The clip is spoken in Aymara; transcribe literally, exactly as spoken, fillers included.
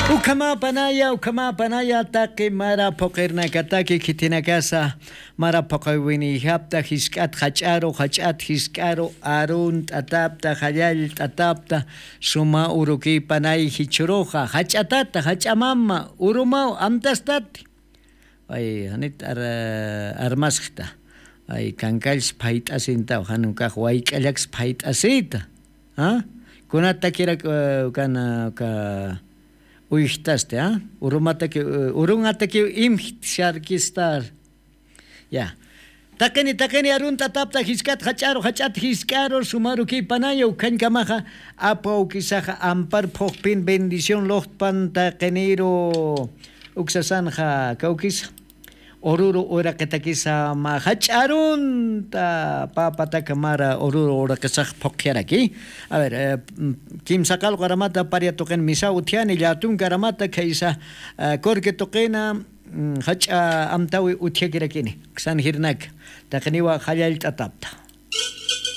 Ukhamapanaya ukhamapanaya taqi mara phuqirnakataki khithinakasa mara phuqiwiniyjapta jisk'at jach'aru jach'at jisk'aru arunt'atapta jallallt'atapta suma urukipanay jichhuruxa jach'atata jach'amama urumaw amtastati. Ay janit armasxta. Ay kankallsi phayt'asintaw jan ukax wayk'allaksa phayt'asita. Kunatakirak ukana uka uyjtasti? Urumataki urunatakiw imjt sharkistar. Ya. Taqini taqini arunt'atapta jisk'at jach'aru jach'at jisk'aru sumarukipanaya ukhañkamaxa apawkisaxa ampar phuqpin bendición luqtpan taqiniru uksasanxa kawkisa. Ururu uraqitakisa mä jach'arunta papatak mara ururu uraqisax phuqyaraki. A ver, kimsa qalqu aramata paria tuqin misa utjani llatunka aramata khaysa corque tuqina jach'a amtawi utjakirakini. Uksan jirnaka taqiniwa jallallt'atapta.